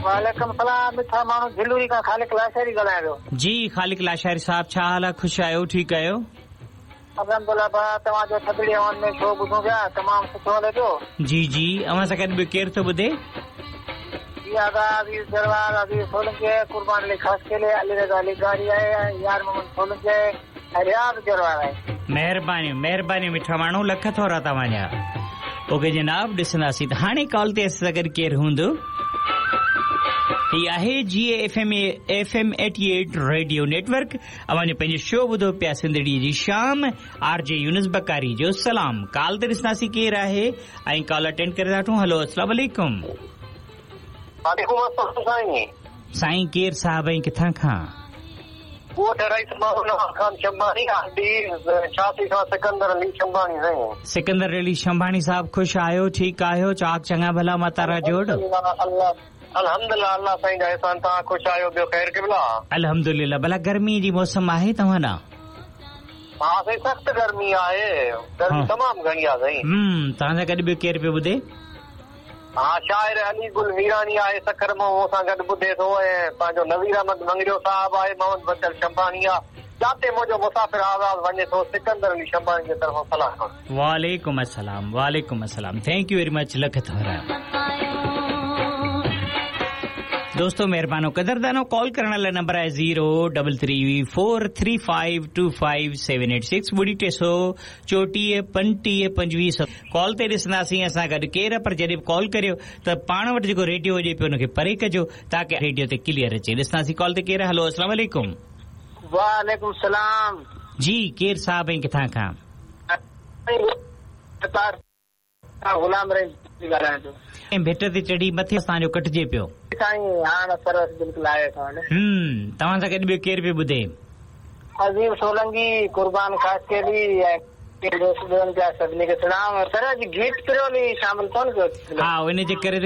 وعليڪم سلام مٺا ماڻهو جهلوري کان خالق لاشاري ڳالهايان پيو. جي خالق لاشاري صاحب ڇا حال آ خوش آهيو ٺيڪ آهيو. الحمدلله ڀاء توهان جو ٿڌڙي هوائن ۾ شو ٻڌون پيا تمام سٺو هلي پيو. جي جي اوهان سان گڏ ٻيو ڪير ٿو ٻڌي. جي آغا عزيز جروار عزيز سولنگي آهي قربان علي خاصخيلي علي رضا لغاري آهي ۽ يار محمد سولنگي آهي ۽ رياض جروار آهي. مهربانيون مهربانيون مٺا ماڻهو لک ٿورا توهان جا. اوڪي جناب ڏسنداسين ته هاڻي ڪال تي اسان سان گڏ ڪير هوندو. هي آهي جي F M F M 88 radio network اوهان جو پنهنجو شو ٻڌو پيا سنڌڙي جي شام آر جي يونس بڪاري جو سلام ڪال تي ڏسنداسين ڪير آهي ۽ ڪال اٽينڊ ڪري ٿا وٺون هلو اسلام عليڪم. وعليڪم السلام سائين. سائين ڪير صاحب ۽ ڪٿان کان. ڳوٺ رئيس محمد نواز خان شنباڻي آر ڊي 86 کان سڪندر علي شنباڻي سائين. سڪندر علي شنباڻي صاحب خوش آهيو ٺيڪ آهيو چاڪ چڱا ڀلا متارا جوڙ. الله الحمدلله الله سائين جا احسان توهان خوش آهيو ٻيو خير قبلا. الحمدلله ڀلا گرمي جي موسم آهي توهان ڏانهن. ها سائين سخت گرمي آهي گرمي تمام گهڻي آهي سائين. هم توهان سان گڏ ٻيو ڪير پيو ٻڌي. ها شاعر علي گل ميراڻي آهي سکر مان مون سان گڏ ٻڌي ٿو ۽ پنهنجو نذير احمد مڱريو صاحب آهي محمد بچل شنباڻي آ جاتي منهنجو مسافر آواز وڃي ٿو سڪندر علي شنباڻي جي طرفان سلام. وعليڪم السلام وعليڪم السلام thank you very much lakh ٿورا. دوستو مهربانو قدردانو ڪال ڪرڻ لاء نمبر آهي zero double three four three five two five seven eight six ٻڙي ٽي سو چوٽيهه پنٽيهه پنجويهه سو ڪال تي ڏسنداسين اسان گڏ ڪير پر جڏهن به ڪال ڪريو ته پاڻ وٽ جيڪو ريڊيو هجي پيو ان کي پري ڪجو تاڪه ريڊيو تي ڪليئر اچي ڏسنداسين ڪال تي ڪير هلو اسلام عليڪم. وعليڪم السلام. جي ڪير صاحب ۽ ڪٿان کان. غلام رحيم ڳالهايان ٿو. ۽ ڀٽ تي چڙهي مٿي توهان جو ڪٽجي پيو. سائين هاڻ سروس بلڪل آهي اسان وٽ. هم توهان سان گڏ ٻيو ڪير پيو ٻڌي. عظيم سولنگي، قربان خاصخيلي ۽ دوست ٻڌن پيا سڀني کي سلام. سر اڄ گيت پرولي شامل ڪونه ڪيو. ها ان جي ڪري ته.